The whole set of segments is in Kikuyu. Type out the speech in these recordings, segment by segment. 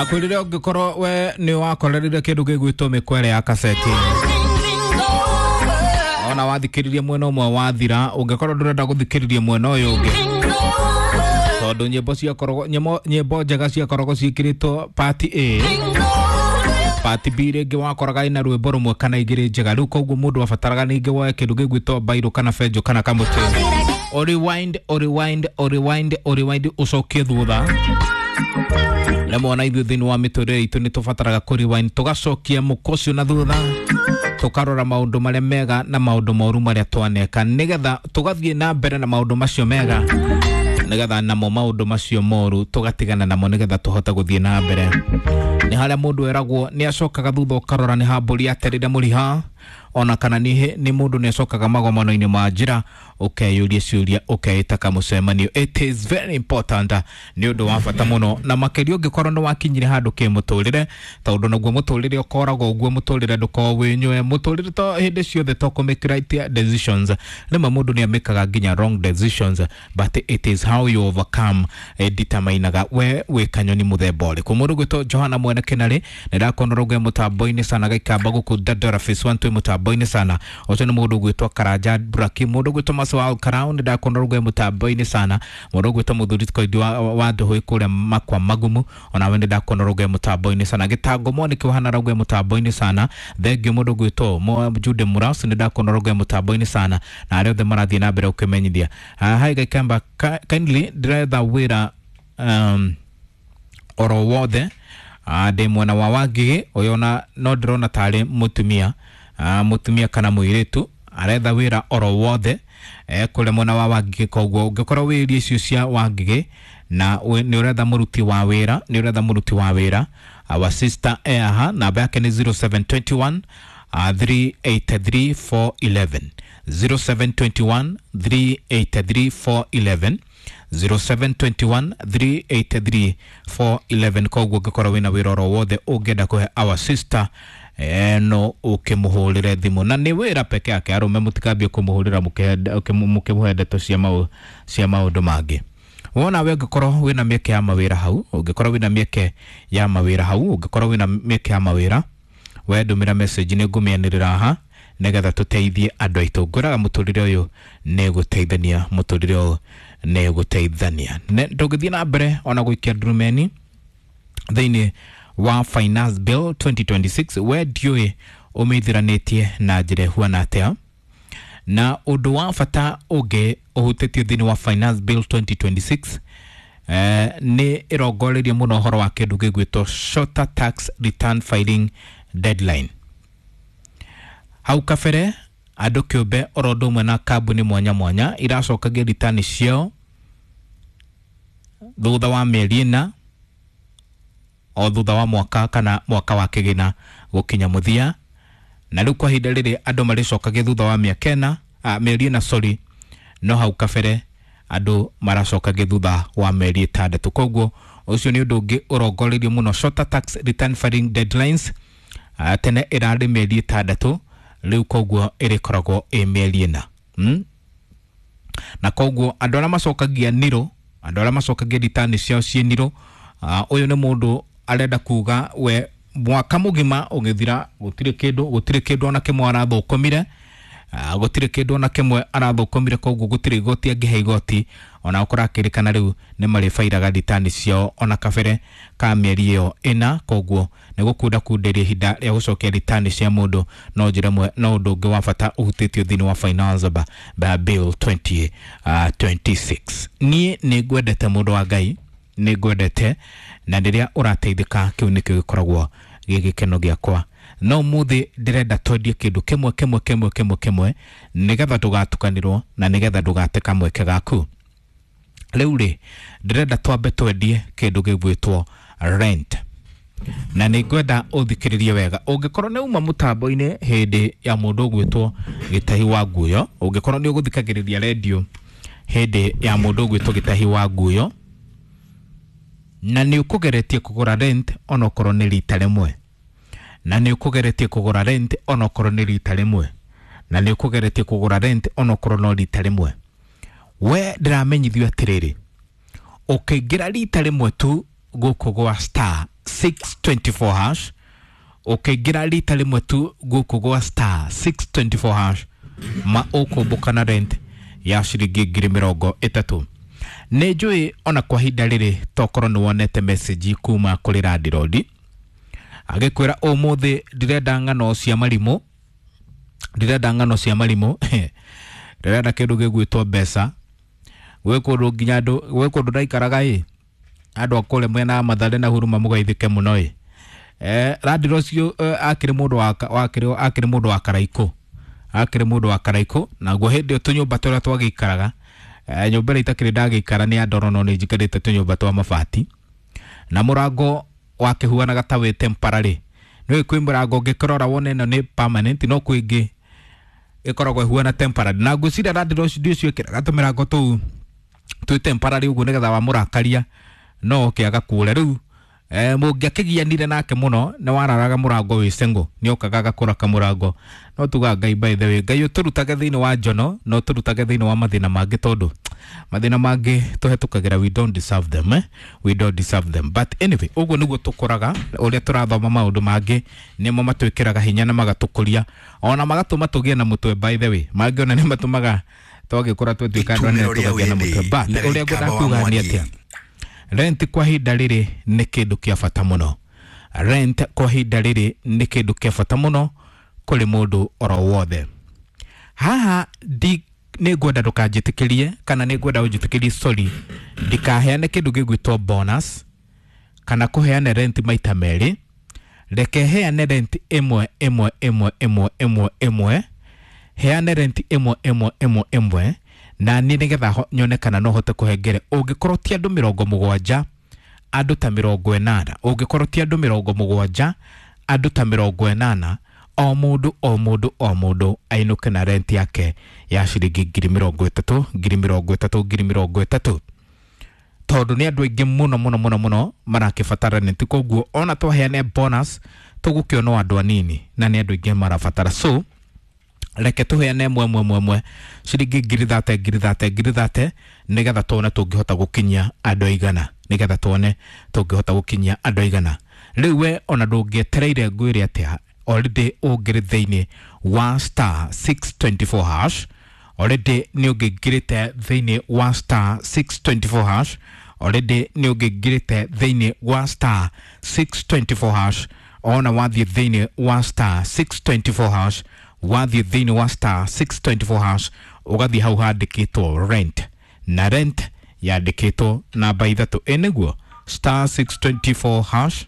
Ndakwĩrire ũngĩkorwo we nĩ wakorerire kĩndũ gĩgwĩtwo mĩkwere ya kaseti, ona wathikĩrĩria mwena ũmwe wathira, ũngĩkorwo ndũrenda gũthikĩrĩria mwena ũyũ ũngĩ, tondũ nyĩmbo ciakoragwo nyĩmbo njega ciakoragwo ciĩkĩrĩtwo part A, part B rĩngĩ wakoraga ĩna rwĩmbo rũmwe kana igĩrĩ njega. Rĩu koguo mũndũ abataraga ningĩ woe kĩndũ gĩgwĩtwo bairũ kana benjũ kana kamũtĩ, o rewind, o rewind, o rewind, o rewind, ũcokie thutha. Rĩmwe ona ithuĩ thĩinĩ wa mĩtũrĩre itũ nĩ tũbataraga kũ rewind, tũgacokia mũkwa ũcio na thutha, tũkarora maũndũ marĩa mega na maũndũ moru marĩa twaneka, nĩgetha tũgathiĩ na mbere na maũndũ macio mega, nĩgetha namo maũndũ macio moru tũgatigana namo, nĩgetha tũhote gũthiĩ na mbere. Nĩ harĩa mũndũ eragwo nĩ acokaga thutha ũkarora nĩ ha mbũri aterire mũriha, ona kana nĩ mũndũ nĩ acokaga magomano-inĩ ma njĩra, ũkeyũria ciũria, ũkeĩta kamũcemanio. It is very important, nĩ ũndũ wa bata mũno, na makĩria ũngĩkorwo nĩ wakinyire handũ kĩmũtũrĩre, tondũ naguo mũtũrĩre ũkoragwo ũguo, mũtũrĩre ndũkoragwo wĩ nywe, mũtũrĩre to hĩndĩ ciothe to kũ make right decisions. Rĩmwe mũndũ nĩ amĩkaga nginya wrong decisions, but it is how you overcome determinaga we wĩ kanyoni mũthemba ũrĩkũ. Mũndũ gwĩtwo Johana Mwene Kĩnarĩ nĩ ndakuona rũgwe mũtambo-inĩ sana, gaikamba gũkũ Dandora Phase 1 twĩ mũtambo-inĩ sana. Ũcio nĩ mũndũ gwĩtwo Karanja Braki. Mũndũ gwĩtwo Maso wa Karau nĩ ndakuona rũgwe mũtambo-inĩ sana. Mũndũ gwĩtwo Mũthuri Koindi wa Ndũhũĩ kũrĩa Makwa Magumu, onawe nĩ ndakuona rũgwe mũtambo-inĩ sana. Gĩtango Mwaniki wahana rũgwe mũtambo-inĩ sana. Thengiũ mũndũ gwĩtwo Jude Muras nĩ ndakuona rũgwe mũtambo-inĩ sana, na arĩa othe marathiĩ na mbere ũkĩmenyithia. Hi Gaikamba, kindly ndĩretha wĩra oro wothe, ndĩ mwena wa Wangigĩ. Ũyũ ona no ndĩrona tarĩ mũtumia, mũtumia kana mũirĩtu aretha wĩra oro wothe kũrĩa mwena wa Wangigĩ. Koguo ũngĩkorwo wĩ irio icio cia Wangigĩ na nĩ ũretha mũruti wa wĩra, nĩ ũretha mũruti wa wĩra, our sister e haha, namba yake nĩ 0721 383 411, 0721 383 411, 0721 383 411. Koguo ũngĩkorwo wĩna wĩra oro wothe ũngĩenda kũhe our sister, no ũkĩmũhũrĩre thimũ, na nĩ wĩra peke yake. Arũme mũtikambie kũmũhũrĩra mũkĩmũhe ndeto cia maũndũ mangĩ. Wona we ũngĩkorwo wĩna mĩeke ya mawĩra hau, ũngĩkorwo wĩna mĩeke ya mawĩra hau, ũngĩkorwo wĩna mĩeke ya mawĩra, we ndũmĩra message, nĩ ngũmĩanĩrĩra haha nĩgetha tũteithie andũ aitũ. Ngwĩraga mũtũrĩre ũyũ nĩ gũteithania, mũtũrĩre ũyũ nĩ gũteithania. Tũngĩthiĩ na mbere ona gũikia ndurumeni thĩinĩ wa Finance Bill 2026, we ndiũĩ ũmĩithiranĩtie na njĩra ĩhuana atĩa. Na ũndũ wa bata ũngĩ ũhutĩtio thĩinĩ wa Finance Bill 2026, nĩ ĩrongoreirie mũno ũhoro wa kĩndũ gĩgwĩtwo shorter tax return filing deadline. Hau kabere andũ kĩũmbe oro ũndũ ũmwe na kambuni mwanya mwanya iracokagia ritani ciao thutha wa mĩeri 4, o thutha wa mwaka kana mwaka wa kĩgĩna gũkinya mũthia, na rĩu kwa ihinda rĩrĩ andũ marĩcokagia thutha wa mĩaka 4, mĩeri 4, sorry, no hau kabere andũ maracokagia thutha wa mĩeri 6. Koguo ũcio nĩ ũndũ ũngĩ ũrongoreirio mũno, shorter tax return filing deadlines. Tene ĩrarĩ mĩeri 6, rĩu koguo ĩrĩkoragwo ĩ mĩeri 4, Na koguo andũ arĩa macokagia niro, andũ arĩa macokagia ritani ciao ciĩ niro, ũyũ nĩ mũndũ arenda kuga we mwaka mũgima ũgĩthira gũtirĩ kĩndũ, gũtirĩ kĩndũ ona kĩmwe arathũkũmire, gũtirĩ kĩndũ ona kĩmwe arathũkũmire, koguo gũtirĩ igoti angĩhe igoti. Ona gũkorwo akĩrĩkana rĩu nĩ marĩbairaga ritani ciao ona kabere ka mĩeri ĩyo 4. Koguo nĩ gũkunda kundĩria ihinda rĩa gũcokia ritani cia mũndũ no njĩra ĩmwe, no ũndũ ũngĩ wa bata ũhutĩtio thĩinĩ wa Finance Bill 2026. Niĩ nĩ ngwendete mũndũ wa Ngai, nĩ ngwendete, na rĩrĩa ũrateithĩka kĩu nĩkĩo gĩkoragwo gĩ gĩkeno gĩakwa. No ũmũthĩ ndĩrenda twendie kĩndũ kĩmwe kĩmwe kĩmwe kĩmwe kĩmwe, nĩgetha ndũgatukanĩrwo na nĩgetha ndũgate kamweke gaku. Rĩu rĩ, ndĩrenda twambe twendie kĩndũ gĩgwĩtwo rent, na nĩ ngwenda ũthikĩrĩrie wega. Ũngĩkorwo nĩ uma mũtambo-inĩ hĩndĩ ya mũndũ ũgwĩtwo Gĩtahi wa Nguyo, ũngĩkorwo nĩ ũgũthikagĩrĩria redio hĩndĩ ya mũndũ ũgwĩtwo Gĩtahi wa Nguyo, na nĩ ũkũgeretie kũgũra rent onokorwo nĩ rita rĩmwe, na nĩ ũkũgeretie kũgũra rent onokorwo nĩ rita rĩmwe, na nĩ ũkũgeretie kũgũra rent onokorwo no rita rĩmwe, we ndĩramenyithio atĩrĩrĩ, ũkĩingĩra rita rĩmwe tu gũkũ gwa star 624 hash. Ũkĩingĩra rita rĩmwe tu gũkũ gwa star 624 hash ma ũkũmbũka na rent ya ciringi 30,000. Nĩ njũĩ ona kwa ihinda rĩrĩ tokorwo nĩ wonete message kuma kũrĩ landirondi agĩkwĩra ũmũthĩ ndĩrenda ng'ano cia marimũ, ndĩrenda ng'ano cia marimũ, ndĩrenda kĩndũ gĩgwĩtwo mbeca. Gwĩ kũndũ nginya andũ, gwĩ kũndũ ndaikaraga ĩ, andũ a kũrĩa mwena wa Mathare na Huruma mũgeithĩke mũno ĩ. Landlord ũcio akĩrĩ mũndũ wa akĩrĩ mũndũ wa Karaikũ, akĩrĩ mũndũ wa Karaikũ. Naguo hĩndĩ ĩyo tũnyũmba tũrĩa twagĩikaraga, nyũmba ĩrĩa itakĩrĩ ndagĩikara nĩ ya ndoro no nĩ njikarĩte tũnyũmba twa mabati, na mũrango wakĩhuanaga ta wĩ temporary. Nĩũĩ kwĩ mũrango ũngĩkĩrora wone ĩno nĩ permanent, no kwĩ ĩngĩ ĩkoragwo ĩhuana temporary. Na ngwĩciria landlord ũcio ekĩraga tũmĩrango tũu twĩ temporary ũguo nĩgetha wamũrakaria no oke agakũre. Rĩu mũngĩakĩgianire nake mũno nĩ wararaga mũrango wĩ cengo, nĩ okaga agakũra kamũrango. No tugaga Ngai, by the way, Ngai ũtũrutage thĩinĩ wa njono na ũtũrutage thĩinĩ wa mathĩna mangĩ, tondũ mathĩna mangĩ tũhetũkagĩra we don't deserve them, eh? We don't deserve them. But anyway, ũguo nĩguo tũkũraga, ũrĩa tũrathoma maũndũ mangĩ nĩmo matwĩkĩraga hinya na magatũkũria ona magatũma tũgĩe na mũtwe. By the way, mangĩ ona nĩ matũmaga twagĩkũra twatuĩka andũ anene Itumĩro rĩa tũkagĩa na wĩthĩ mũtwe. But na ũrĩa gĩikamba ngwendaga wa kuga nĩ Mwangi. atĩa, rent kwa ihinda rĩrĩ nĩ kĩndũ kĩa bata mũno. Rent kwa ihinda rĩrĩ nĩ kĩndũ kĩa bata mũno kũrĩ mũndũ oro wothe. Haha ndi nĩ ngwenda ndũkanjĩtĩkĩrie, kana nĩ ngwenda ũnjĩtĩkĩrie, sorry, ndikaheane kĩndũ gĩgwĩtwo bonus kana kũheane rent maita merĩ. Reke heane rent ĩmwe ĩmwe ĩmwe ĩmwe ĩmwe ĩmwe, heane rent ĩmwe ĩmwe ĩmwe ĩmwe, na niĩ nĩgetha nyone kana no hote kũhengere. Ũngĩkorwo ti andũ 70, andũ ta 80, ũngĩkorwo ti andũ 70, andũ ta 80, o mũndũ o mũndũ o mũndũ ainũke na rent yake ya ciringi 30,000, 30,000, 30,000, tondũ nĩ andũ aingĩ mũno mũno mũno mũno marakĩbatara rent. Koguo ona twaheane bonus tũgũkĩona o andũ anini na nĩ andũ aingĩ marabatara. So reke tũheane ĩmwe ĩmwe ĩmwe ĩmwe ciringi 30,000, 30,000, 30,000, nĩgetha tuone tũngĩhota gũkinyia andũ aigana, nĩgetha tuone tũngĩhota gũkinyia andũ aigana. Rĩu we ona ndũngĩetereire ngwĩre atĩa, already ũngĩrĩ thĩinĩ wa star 624 hash, already nĩ ũngĩingĩrĩte thĩinĩ wa star 624 hash, already nĩ ũngĩingĩrĩte thĩinĩ wa star 624 hash. Ona wathiĩ thĩinĩ wa star 624 hash, wathiĩ thĩinĩ wa star 624 hash, ũgathiĩ hau handĩkĩtwo rent, na rent yandĩkĩtwo namba 3. Ĩ nĩguo star 624 hash,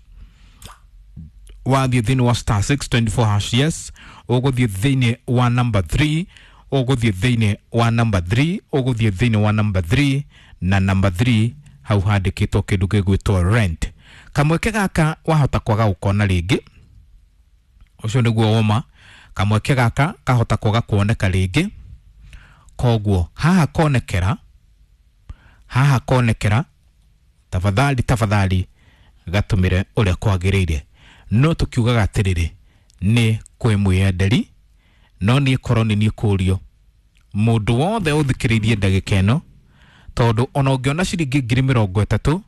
wathiĩ thĩinĩ wa star 624 hash, yes, ũgũthiĩ thĩinĩ wa number 3, ũgũthiĩ thĩinĩ wa number 3, ũgũthiĩ thĩinĩ wa number 3, na number 3 hau handĩkĩtwo kĩndũ gĩgwĩtwo rent. Kamweke gaka wahota kwaga gũkona rĩngĩ, ũcio nĩguo woma. Kamweke gaka kahota kwaga kuoneka rĩngĩ, koguo haha konekera, haha konekera, tafadhali tafadhali gatũmĩre ũrĩa kwagĩrĩire. No tũkiugaga atĩrĩrĩ, nĩ kwĩ mwĩyenderi, no niĩ korwo nĩ niĩ kũrio mũndũ wothe ũthikĩrĩirie ndagĩka ĩno, tondũ ona ũngĩona ciringi 30,000,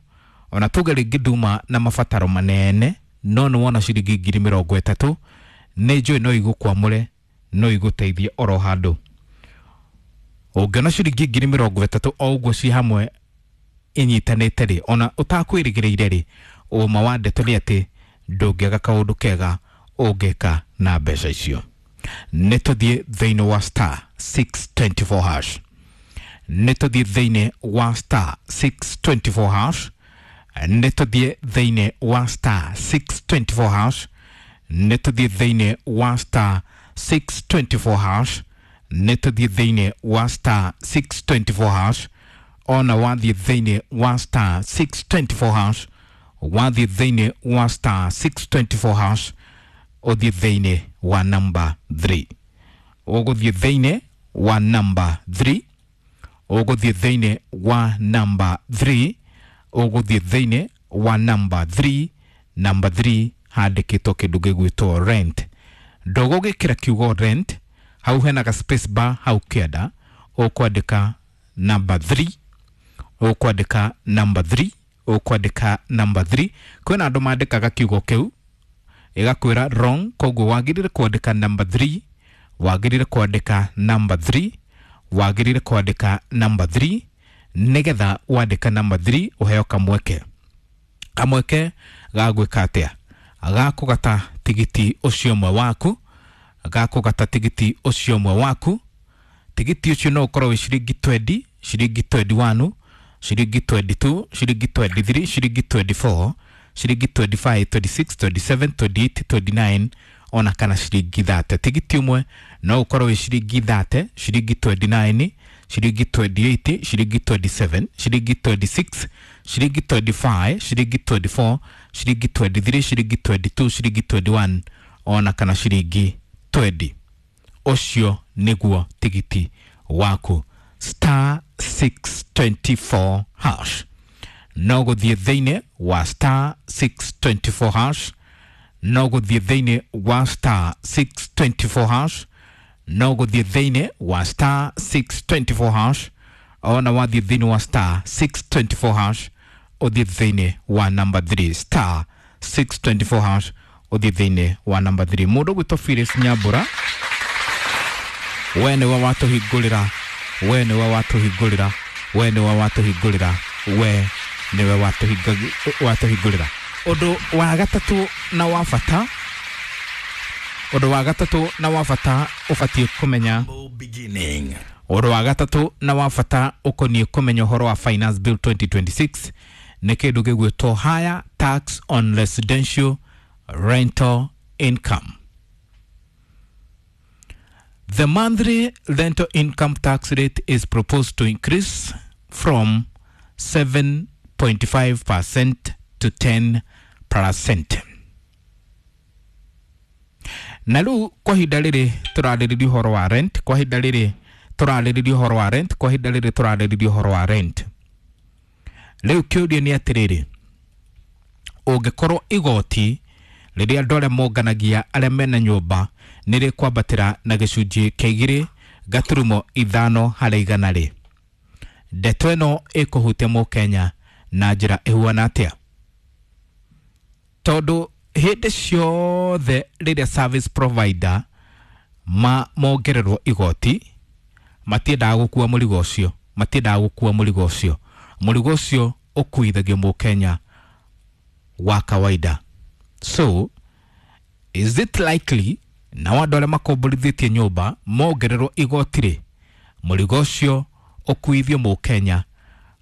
ona tuge rĩngĩ nduma na mabataro manene, no nĩ wona ciringi 30,000, nĩ njũĩ no igũkwamũre, no igũteithie oro handũ. Ũngĩona ciringi 30,000 o ũguo ci hamwe inyitanĩte rĩ, ona ũtakwĩrĩgĩrĩire rĩ, ũma wa ndeto nĩ atĩ ndũngĩaga kaũndũ kega ũngĩka na mbeca icio. Nĩ tũthiĩ thĩinĩ wa star 624 hash, nĩ tũthiĩ thĩinĩ wa star 624 hash, nĩ tũthiĩ thĩinĩ wa star 624 hash, nĩ tũthiĩ thĩinĩ wa star 624 hash, nĩ tũthiĩ thĩinĩ wa star 624 hash. Ona wathiĩ thĩinĩ wa star 624 hash, wathiĩ thĩinĩ wa star 624 hash, ũthiĩ thĩinĩ wa number 3, ũgũthiĩ thĩinĩ wa number 3, ũgũthiĩ thĩinĩ wa number 3, ũgũthiĩ thĩinĩ wa number 3, number 3 handĩkĩtwo kĩndũ gĩgwĩtwo rent. Ndũgũgĩkĩra kiugo rent hau, hena ga space bar hau kĩanda, ũkwandĩka number 3, ũkwandĩka number 3, Ũkwandĩka number 3. Kwĩna andũ mandĩkaga kiugo kĩu ĩgakwĩra wrong, koguo wagĩrĩire kwandĩka number 3, wagĩrĩire kwandĩka number 3, wagĩrĩire kwandĩka number 3, nĩgetha wandĩka number 3 ũheo kamweke, kamweke ga gwĩka atĩa? Ga kũgata tigiti ũcio ũmwe waku, ga kũgata tigiti ũcio ũmwe waku. Tigiti ũcio no ũkorwo wĩ ciringi 20, ciringi 21, ciringi 22, ciringi 23, ciringi 24, ciringi 25, 26, 27, 28, 29 ona kana ciringi 30. Tigiti ũmwe no ũkorwo wĩ ciringi 30, ciringi 29, ciringi 28, ciringi 27, ciringi 26, ciringi 25, ciringi 24, ciringi 23, ciringi 22, ciringi 21 ona kana ciringi 20. Ũcio nĩguo tigiti waku, star 624 hash. No gũthiĩ thĩinĩ wa star 624 hash, no gũthiĩ thĩinĩ wa star 624 hash, no gũthiĩ thĩinĩ wa star 624 hash. Ona wathiĩ thĩinĩ wa star 624 hash, ũthiĩ thĩinĩ wa number 3, star 624 hash, ũthiĩ thĩinĩ wa number 3. Mũndũ gwĩtwo Phyllis Nyambura, we nĩwe watũhingũrĩra, we nĩwe watũhingũrĩra, we nĩwe watũhingũrĩra, we nĩwe watũhingũrĩra. Ũndũ wa gatatũ na wa bata, ũndũ wa gatatũ na wa bata ũbatiĩ kũmenya, Beginning. Ũndũ wa gatatũ na wa bata ũkoniĩ kũmenya ũhoro wa Finance Bill 2026 nĩ kĩndũ gĩgwĩtwo higher tax on residential rental income. The monthly rental income tax rate is proposed to increase from 7.5% to 10%. Na rĩu kwa ihinda rĩrĩ tũrarĩrĩria ũhoro wa rent, kwa ihinda rĩrĩ tũrarĩrĩria ũhoro wa rent, kwa ihinda rĩrĩ tũrarĩrĩria ũhoro wa rent. Rĩu kĩũria nĩ atĩrĩrĩ, ũngĩkorwo igoti rĩrĩa andũ arĩa monganagia arĩa mena nyũmba nĩ rĩkwambatĩra na gĩcunjĩ kĩa 2.5%, rĩ, ndeto ĩno ĩkũhutia mũkenya na njĩra ĩhuana atĩa? Tondũ hĩndĩ ciothe rĩrĩa service provider ma mongererwo igoti, matiendaga gũkua mũrigo ũcio, matiendaga gũkua mũrigo ũcio, mũrigo ũcio ũkuithagio mũkenya wa kawaida. So is it likely nao andũ arĩa makomborithĩtie nyũmba mongererwo igoti rĩ, mũrigo ũcio ũkuithio mũkenya,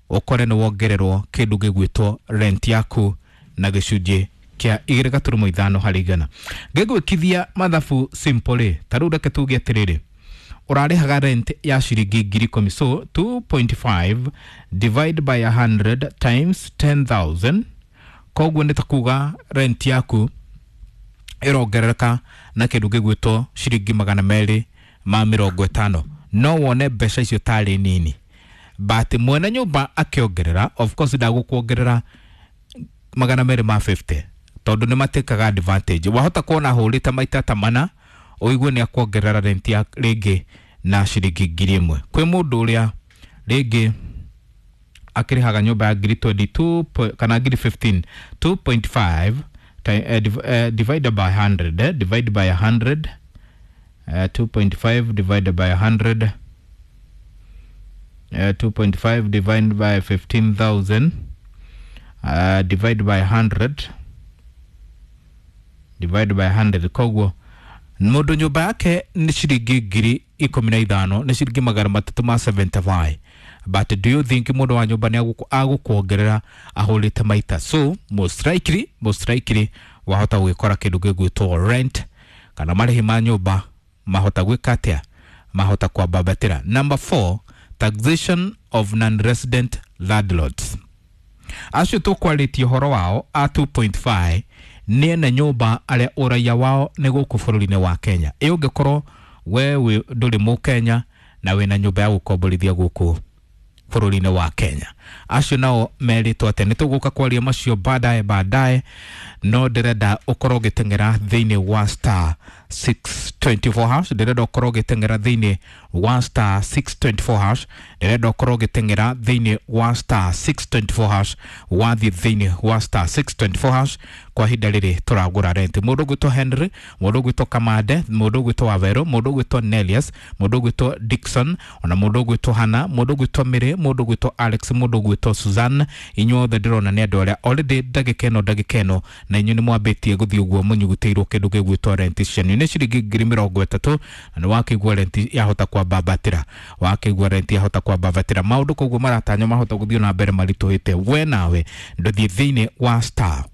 ũkore nĩ wongererwo kĩndũ gĩgwĩtwo rent yaku na gĩcunjĩ kĩa 2.5%? Ngĩgwĩkithia mathabu simple rĩ, ta rĩu reke tuge atĩrĩrĩ, ũrarĩhaga rent ya ciringi 10,000, so 2.5 divide by 100 times 10,000, koguo nĩ ta kuga rent yaku ĩrongerereka na kĩndũ gĩgwĩtwo ciringi 250. No wone mbeca icio tarĩ nini, but mwene nyũmba akĩongerera, of course ndagũkuongerera 250, tondũ nĩ matĩkaga advantage. Wahota kuona hũrĩte maita ta mana, ũigue nĩ akuongerera rent ya rĩngĩ na ciringi 1,000. Kwĩ mũndũ ũrĩa rĩngĩ akĩrĩhaga nyũmba ya ngiri 22 kana ngiri 15, 2.5 divided by 100, divide by 100, 2.5 divided by 100, 2.5 divided by 15,000, divide by 100, divide by 100. Koguo mũndũ nyũmba yake nĩ ciringi 15,000, nĩ ciringi 375. But do you think mũndũ wa nyũmba nĩ agũkuongerera ahũrĩte maita? So most likely, most likely wahota gwĩkora kĩndũ gĩgwĩtwo rent kana marĩhi ma nyũmba mahota gwĩka atĩa? Mahota kwambambatĩra. Number 4, taxation of non-resident landlords. Acio tũkwarĩtie ũhoro wao a 2.5 nĩ ene nyũmba arĩa ũraiya wao nĩ gũkũ bũrũri-inĩ wa Kenya. Ĩ ũngĩkorwo we ndũrĩ mũkenya na wĩna nyũmba ya gũkomborithia gũkũ bũrũri-inĩ wa Kenya? Acio nao merĩtwo atĩa? Nĩ tũgũka kwaria macio baadaye baadaye, no ndĩrenda ũkorwo ũgĩteng'era thĩinĩ wa star 624 hash. Ndĩrenda ũkorwo ũgĩteng'era thĩinĩ wa star 624 hash. Ndĩrenda ũkorwo ũgĩteng'era thĩinĩ wa star 624 hash. Wathiĩ thĩinĩ wa star 624 hash kwa ihinda rĩrĩ tũragũra rent. Mũndũ ũgwĩtwo Henry, mũndũ ũgwĩtwo Kamande, mũndũ ũgwĩtwo Wawerũ, mũndũ ũgwĩtwo Nelius, mũndũ ũgwĩtwo Dickson, ona mũndũ ũgwĩtwo Hana, mũndũ ũgwĩtwo Mary, mũndũ ũgwĩtwo Alex, mũndũ ũgwĩtwo Suzanne. Inyuothe ndĩrona nĩ andũ arĩa already ndagĩka ĩno ndagĩka ĩno na inyuĩ nĩ mwambĩtie gũthiĩ ũguo mũnyugutĩirwo kĩndũ gĩgwĩtwo rent cianyu nĩ ciringi 30,000, na nĩ wakĩigua rent yahota kwambambatĩra, wakĩigua rent yahota kwambambatĩra maũndũ, koguo maratanywo mahota gũthiĩ na mbere maritũhĩte. We nawe ndũthiĩ thĩinĩ wa star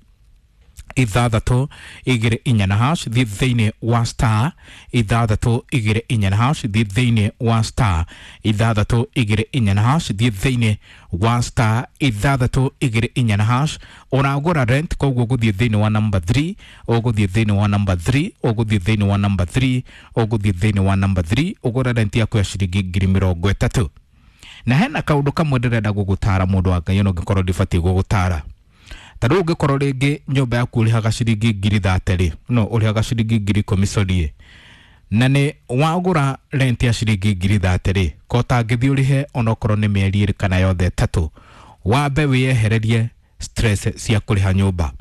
624 na hash, thiĩ thĩinĩ wa star 624 na hash, thiĩ thĩinĩ wa star 624 na hash, thiĩ thĩinĩ wa star 624 na hash. Ũragũra rent, koguo ũgũthiĩ thĩinĩ wa number 3, ũgũthiĩ thĩinĩ wa number 3, ũgũthiĩ thĩinĩ wa number 3, ũgũthiĩ thĩinĩ wa number 3, ũgũre rent yaku ya ciringi 30,000. Na hena kaũndũ kamwe ndĩrenda gũgũtara mũndũ wa Ngai, ona ũngĩkorwo ndibatiĩ gũgũtara. Ta rĩu ũngĩkorwo rĩngĩ nyũmba yaku ũrĩhaga ciringi 30,000 rĩ, no ũrĩhaga ciringi 10,000 sorry, na nĩ wagũra rent ya ciringi 30,000 rĩ, ko ũtangĩthiĩ ũrĩhe onokorwo nĩ mĩeri ĩrĩ kana yothe ĩtatũ, wambe wĩyehererie stress cia kũrĩha nyũmba,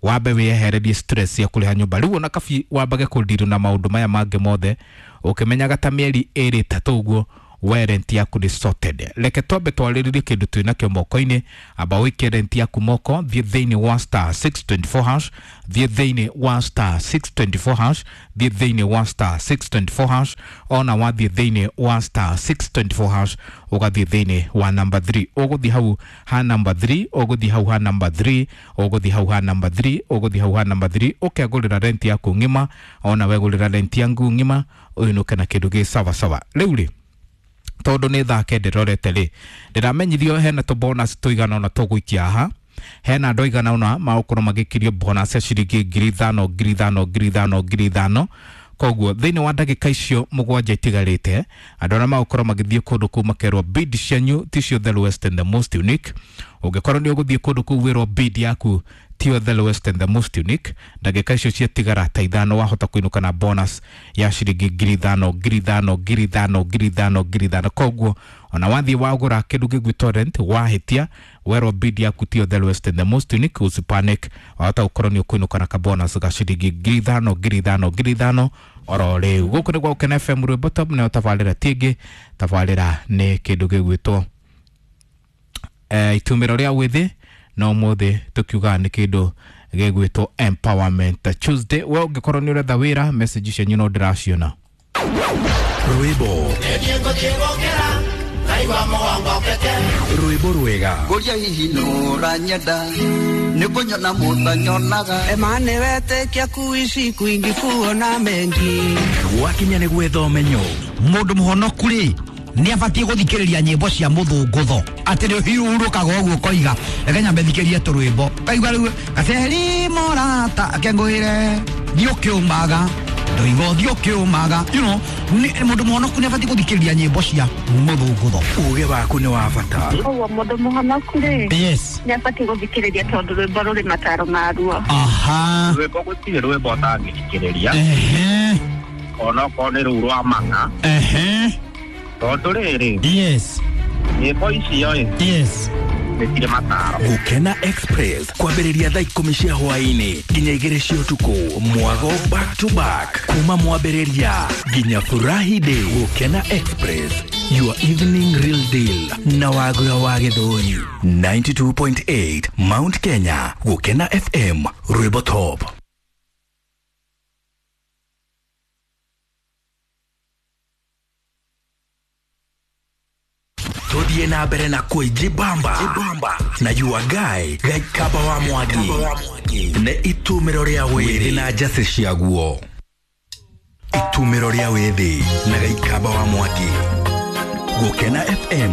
wambe wĩyehererie stress cia kũrĩha nyũmba. Rĩu ona kabi wambage kũndirũ na maũndũ maya mangĩ mothe ũkĩmenyaga ta mĩeri ĩrĩ ĩtatũ ũguo we rent yaku nĩ sorted. Reke twambe twarĩrĩrie kĩndũ twĩ nakĩo moko-inĩ. Amba ũikie rent yaku moko, thiĩ thĩinĩ wa star 624 hash, thiĩ thĩinĩ wa star 624 hash, thiĩ thĩinĩ wa star 624 hash. Ona wathiĩ thĩinĩ wa star 624 hash ũgathiĩ thĩinĩ wa number 3, ũgũthiĩ hau ha number 3, ũgũthiĩ hau ha number 3, ũgũthiĩ hau ha number 3, ũgũthiĩ hau ha number 3, ũkegũrĩra rent yaku ng'ima. Ona wegũrĩra rent yaku ng'ima ũinũke na kĩndũ gĩ sawa sawa. Rĩu rĩ, tondũ nĩ thaa kenda ĩrorete rĩ, ndĩramenyithio hena tũ bonus tũigana ũna tũgũikia haha. Hena andũ aigana ũna magũkorwo magĩkirio bonus ya ciringi 5,000 5,000 5,000 5,000. Koguo thĩinĩ wa ndagĩka icio 7 itigarĩte, andũ arĩa magũkorwo magĩthiĩ kũndũ kũu makerwo bid cianyu ticio the lowest and the most unique. Ũngĩkorwo nĩ ũgũthiĩ kũndũ kũu wĩrwo bid yaku tiyo the lowest and the most unique, ndagĩka icio ciatigara ta 5 wahota kũinũka na bonus ya ciringi 5,000 5,000 5,000 5,000 5,000. Koguo ona wathiĩ wagũra kĩndũ gĩgwĩtwo rent wahĩtia werwo bid yaku tiyo the lowest and the most unique, usipanic, wahota gũkorwo nĩ ũkũinũka na kabonus ga ciringi 5,000 5,000 5,000 oro rĩu. Gũkũ nĩ gwa Gũkena FM Rwĩmbo Top, nayo tabarĩra ti ĩngĩ, tabarĩra nĩ kĩndũ gĩgwĩtwo itumĩro rĩa wĩthĩ, na ũmũthĩ tũkiugaga nĩ kĩndũ gĩgwĩtwo Empowerment Tuesday. We ũngĩkorwo nĩ ũretha wĩra, message cianyu no ndĩraciona. Rwĩmbo rwĩmbo rwega Ngũria hihi nũranyenda nĩ kũnyona mũtanyonaga Emane wetĩkia kuishi kwingi kuona mengi gwakinya nĩ gwetha ũmenyo. Mũndũ mũhonoku rĩ nĩ abatiĩ gũthikĩrĩria nyĩmbo cia mũthũngũtho atĩ nĩ ũhurũkaga ũguo ũkoiga reke nyambe thikĩrie tũrwĩmbo kaigua rĩu gaceri morata akengũĩre thiĩ ũkĩũmaga ndoiga ũthiĩ ũkĩũmaga, you know, mũndũ mũhonoku nĩ abatiĩ gũthikĩrĩria nyĩmbo cia mũthũngũtho. Uge waku nĩ wa bata. Koguo mũndũ mũhonoku rĩ, yes, nĩ abatiĩ gũthikĩrĩria tondũ rwĩmbo rũrĩ mataro maruo. Aha. Rwĩmbo gũtirĩ rwĩmbo ũtangĩthikĩrĩria, ehe, onokorwo nĩ rũu rwa mang'a, ehe, tondũ rĩrĩ, yes, nyĩmbo icio ĩ yes, nĩ cirĩ mataro. Gũkena Express kwambĩrĩria thaa 10 cia hwaĩ-inĩ nginya 2 cia ũtukũ, mwago back to back kuma mwambĩrĩria nginya furahi day. Gũkena Express, your evening real deal na Wagura wa Gĩthũri 92.8 Mount Kenya. Gũkena FM Rwĩmbo Top. Tuthie na mbere na kwĩjibamba na your guy Gaikaba wa Mwangi nĩ itumĩro rĩa wĩthĩ na njacĩ ciaguo. Itumĩro rĩa wĩthĩ na Gaikaba wa Mwangi. Gũkena FM.